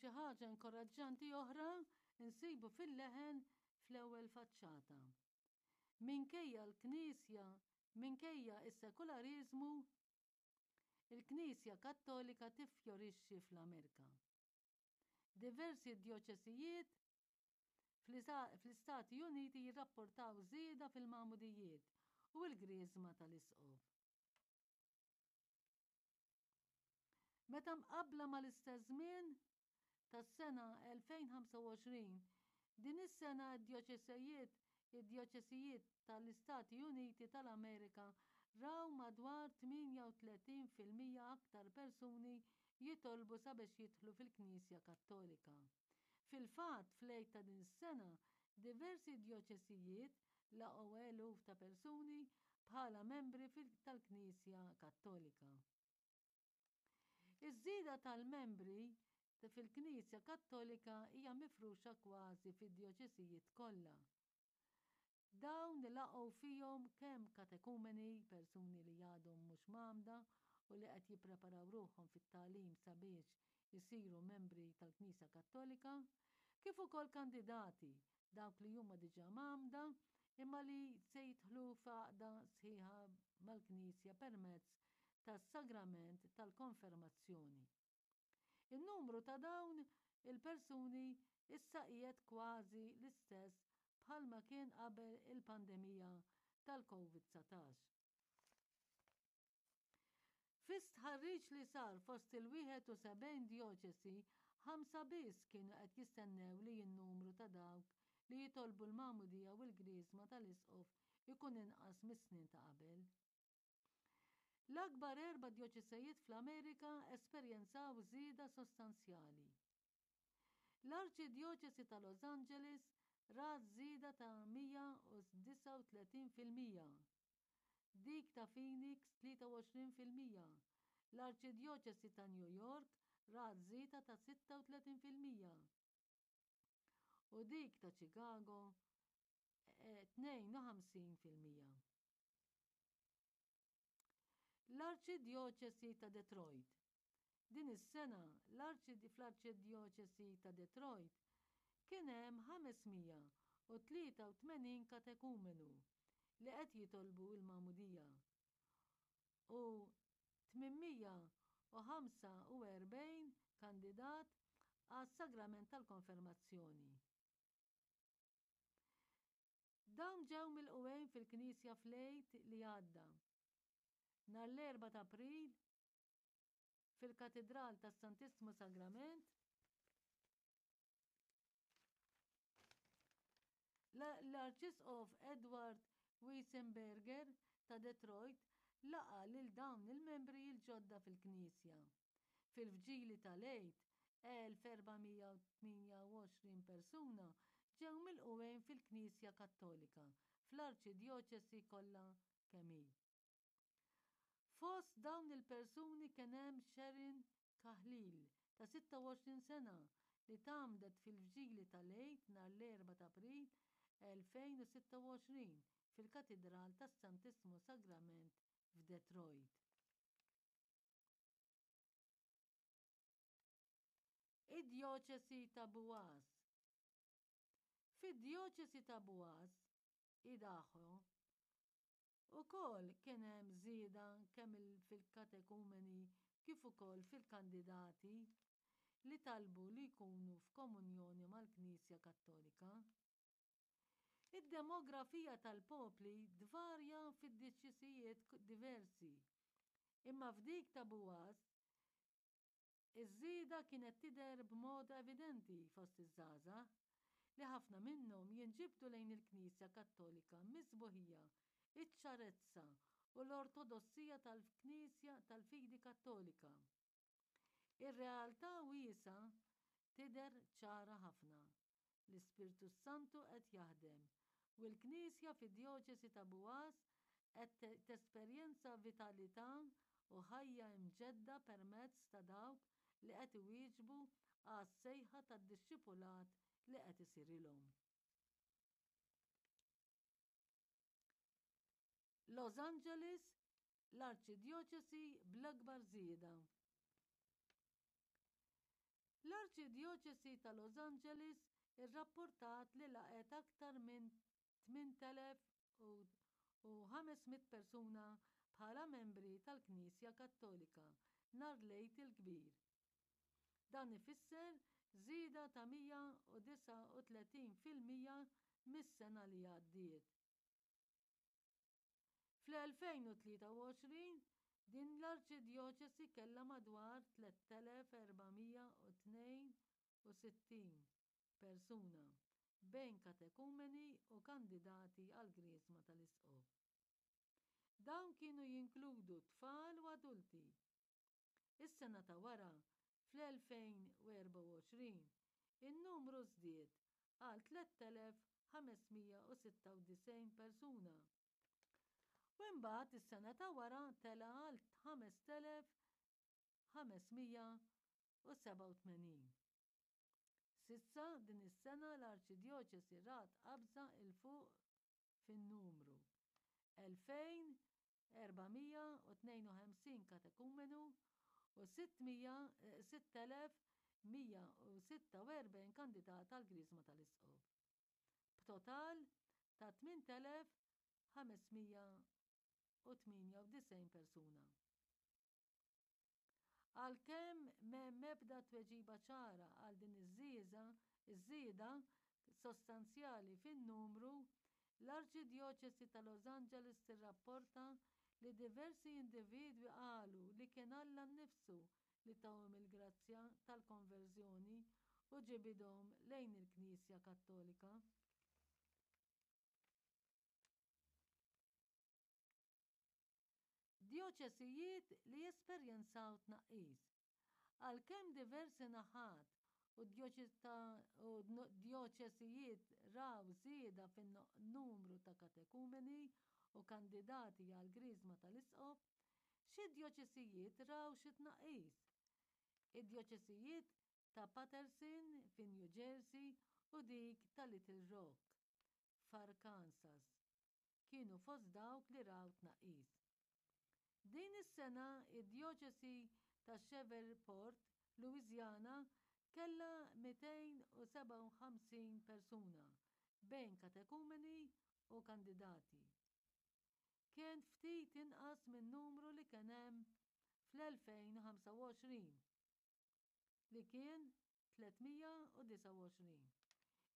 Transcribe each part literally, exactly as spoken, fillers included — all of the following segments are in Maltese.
Xi ħaġa inkoraġġanti oħra nsibu fil-Leħen fl-ewwel faċċata. Minkejja l-Knisja, minkejja s-sekulariżmu, il-Knisja Kattolika tiffjorixxi fl-Amerika. Diversi djoċesijiet fl-Istati Uniti jirrapportaw żieda fil-magħmudijiet u l-griżma tal-Isqof. Meta mqabbla mal-istess żmien tas-sena elfejn u ħamsa u għoxrin, din is-sena d-djoċesijiet id-djoċesijiet tal-Istati Uniti tal-Amerika raw madwar tmienja u tletin fil-mija aktar persuni jitolbu sabiex jidħlu fil-Knisja Kattolika. Fil-fatt, fl-Għid ta' din is-sena, diversi djoċesijiet laqgħu eluf ta' persuni bħala membri tal-Knisja Kattolika. Iż-żieda tal-membri fil-Knisja Kattolika hija mifruxa kważi fid-djoċesijiet kollha. Dawn laqgħu fihom kemm katekumeni, persuni li għadhom mhux mgħammda u li qed jippreparaw ruħhom fit-tagħlim sabiex isiru membri tal-Knisja Kattolika, kif ukoll kandidati, dawk li huma diġà mgħammda imma li se jidħlu f'għaqda sħiħa mal-Knisja permezz tas-sagrament tal-konfermazzjoni. In-numru ta' dawn il-persuni issa qiegħed kważi l-istess bħalma kien qabel il-pandemija tal-Covid dsatax. Fi stħarriġ li sar fost il-wieħed u sebgħin djoċesi, ħamsa biss kienu qed jistennew li n-numru ta' dawk li jitolbu l-magħmudija u l-griżma tal-isqof ikun inqas mis-snin ta' qabel. L-akbar erba' djoċesejiet fl-Amerika esperjenzaw żieda sostanzjali. L-Arċidjoċesi ta' Los Angeles rat żieda ta' mija u disgħa u tletin fil-mija, dik ta' Phoenix tlieta u għoxrin fil-mija, l-Arċidjoċesi ta' New York rat żieda ta' sitta u tletin fil-mija u dik ta' Chicago tnejn u ħamsin fil-mija. L-Arċidjoċesi ta' Detroit. Din is-sena fl-Arċidjoċesi ta' Detroit kien hemm ħames mija u tlieta u tmenin katekumenu li qed jitolbu l-magħmudija u tmien mija u ħamsa u erbgħin kandidat għas-sagrament tal-konfermazzjoni. Dawn ġew milqugħin fil-Knisja fl-Għid li għadda. Nhar l-erbgħa ta' April fil-Katidral tas-Santissmu Sagrament l-Arċisqof Edward Weisenberger ta' Detroit laqa' lil dawn il-membri l-ġodda fil-Knisja. Fil-Vġili tal-Għid, elf erba' mija u tmienja u għoxrin persuna ġew milqugħin fil-Knisja Kattolika fl-Arċidjoċesi kollha kemm hi. Fost dawn il-persuni kien hemm Sharon Kahlil ta' sitta u għoxrin sena li tgħammdet fil-Vġili tal-Għid nhar l-erbgħa ta' April elfejn u sitta u għoxrin fil-Katidral tas-Santissmu Sagrament f'Detroit. Id-Djoċesi ta' Boaz. Fid-Djoċesi ta' Boaz, Idaho, ukoll kien hemm żieda kemm fil-katekumeni kif ukoll fil-kandidati li talbu li jkunu f'komunjoni mal-Knisja Kattolika. Id-demografija tal-popli tvarja fid-djoċesijiet diversi, imma f'dik ta' Boaz iż-żieda kienet tidher b'mod evidenti fost iż-żgħażagħ, li ħafna minnhom jinġibdu lejn il-Knisja Kattolika mis-sbuħija, iċ-ċarezza u l-ortodossija tal-Knisja tal-Fidi Kattolika. Ir-realtà wiesgħa tidher ċara ħafna. L-Ispirtu Santu qed jaħdem u l-Knisja fid-Djoċesi ta' Boaz qed tesperjenza vitalità u ħajja imġedda permezz ta' dawk li qed iwieġbu għas-sejħa tad-dixxipulat li qed isirilhom. Los Angeles, l-Arċidjoċesi bl-akbar żieda. L-Arċidjoċesi ta' Los Angeles irrappurtat li laqgħet aktar minn tmien elef u ħames mitt persuna bħala membri tal-Knisja Kattolika nhar l-Għid il-Kbir. Dan ifisser żieda ta' mija u disgħa u tletin fil-mija mis-sena li għaddiet. Fl-elfejn u tlieta u għoxrin din l-arċidjoċesi kellha madwar tliet elef erba' mija u tnejn u sittin persuna bejn katekumeni u kandidati għall-Griżma tal-Isqof. Dawn kienu jinkludu tfal u adulti. Is-sena ta' wara, fl-elfejn u erbgħa u għoxrin, in-numru żdied għal tliet elef ħames mija u sitta u disgħin persuna u imbagħad is-sena ta' wara tela' għal ħames elef ħames mija u sebgħa u tmenin. S'issa din is-sena l-arċidjoċesi rat qabża l fuq fin-numru: elfejn erba' mija u tnejn u ħamsin katekumenu u sitt elef mija u sitta u erbgħin kandidat għall-Griżma tal-Isqof, b'total ta' tmien elef ħames mija u tmienja u disgħin persuna. Għalkemm m'hemm ebda tweġiba ċara għal din iż-żieda sostanzjali fin-numru, l-Arċidjoċesi ta' Los Angeles tirrapporta li diversi individwi qalu li kien Alla nnifsu li tahom il-grazzja tal-konverżjoni u ġibidhom lejn il-Knisja Kattolika. Djoċesijiet li esperjenzaw tnaqqis. Għalkemm diversi naħat u djoċesijiet raw żieda fin-numru ta' katekumeni u kandidati għall-Griżma tal-Isqof, xi djoċesijiet raw xi tnaqqis. Id-djoċesijiet ta' Paterson fi New Jersey u dik ta' Little Rock f'Arkansas kienu fost dawk li raw tnaqqis. Din is-sena, id-djoċesi ta' Shreveport, Louisiana, kellha mitejn u sebgħa u ħamsin persuna bejn katekumeni u kandidati. Kien ftit inqas min-numru li kien hemm fl-elfejn u ħamsa u għoxrin, li kien tliet mija u disgħa u għoxrin,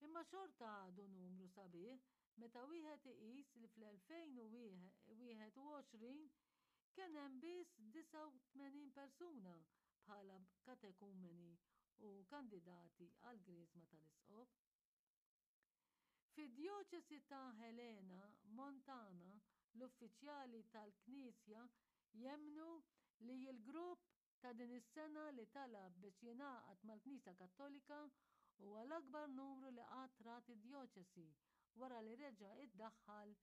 imma xorta għadu numru sabiħ meta wieħed iqis li fl-elfejn u wieħed u għoxrin kien hemm biss disgħa u tmenin persuna bħala katekumeni u kandidati għall-Griżma tal-Isqof. Fid-djoċesi ta' Helena, Montana, l-uffiċjali tal-knisja jemmnu li l-grupp ta' din is-sena li talab biex jingħaqad mal-Knisja Kattolika huwa l-akbar numru li qatt rat id-djoċesi wara li reġa' ddaħħal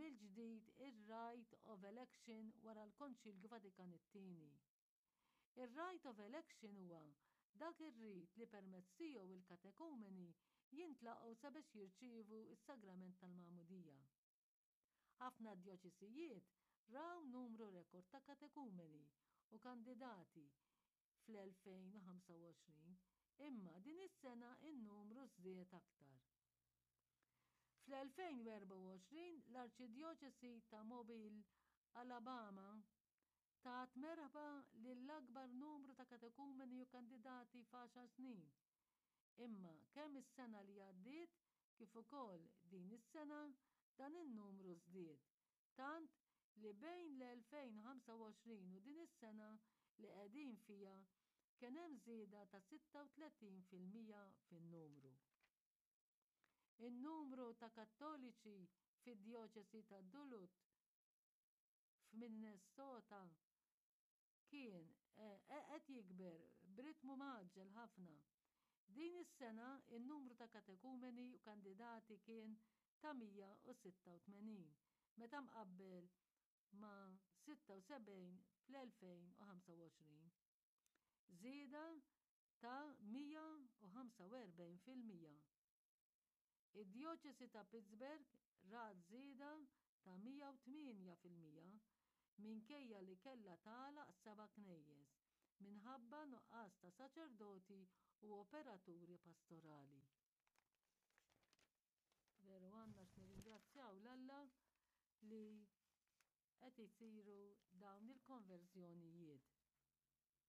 mill-ġdid ir-Right of Election wara l-Konċilju Vatikan it-Tieni. Ir-Right of Election huwa dak ir-rit li permezz tiegħu l-katekumeni jintlaqgħu sabiex jirċievu s-sagrament tal-magħmudija. Ħafna djoċesijiet raw numru rekord ta' katekumeni u kandidati fl-elfejn u ħamsa u għoxrin, imma din is-sena n-numru żdied aktar. Fl-elfejn u erbgħa u għoxrin l-Arċidjoċesi ta' Mobile, Alabama, tat merħba lill-akbar numru ta' katekumeni u kandidati f'għaxar snin, imma kemm is-sena li għaddiet kif ukoll din is-sena dan in-numru żdied, tant li bejn l-elfejn u ħamsa u għoxrin u din is-sena li qegħdin fiha kien hemm żieda ta' sitta u tletin fil-mija fin-numru. In-numru ta' Kattoliċi fid-djoċesi ta' Duluth f'Minnesota kien qed jikber b'ritmu mgħaġġel ħafna. Din is-sena n-numru ta' katekumeni u kandidati kien ta' mija u sitta u tmenin, meta mqabbel ma' sitta u sebgħin fl-elfejn u ħamsa u għoxrin, żieda ta' mija u ħamsa u erbgħin fil-mija. Id-djoċesi ta' Pittsburgh rat żieda ta' mija u tmienja fil-mija minkejja li kellha tagħlaq seba' knejjes minħabba nuqqas ta' saċerdoti. u operaturi pastorali. Veru għandna x'nirringrazzjaw 'l Alla li qed isiru dawn il-konverżjonijiet.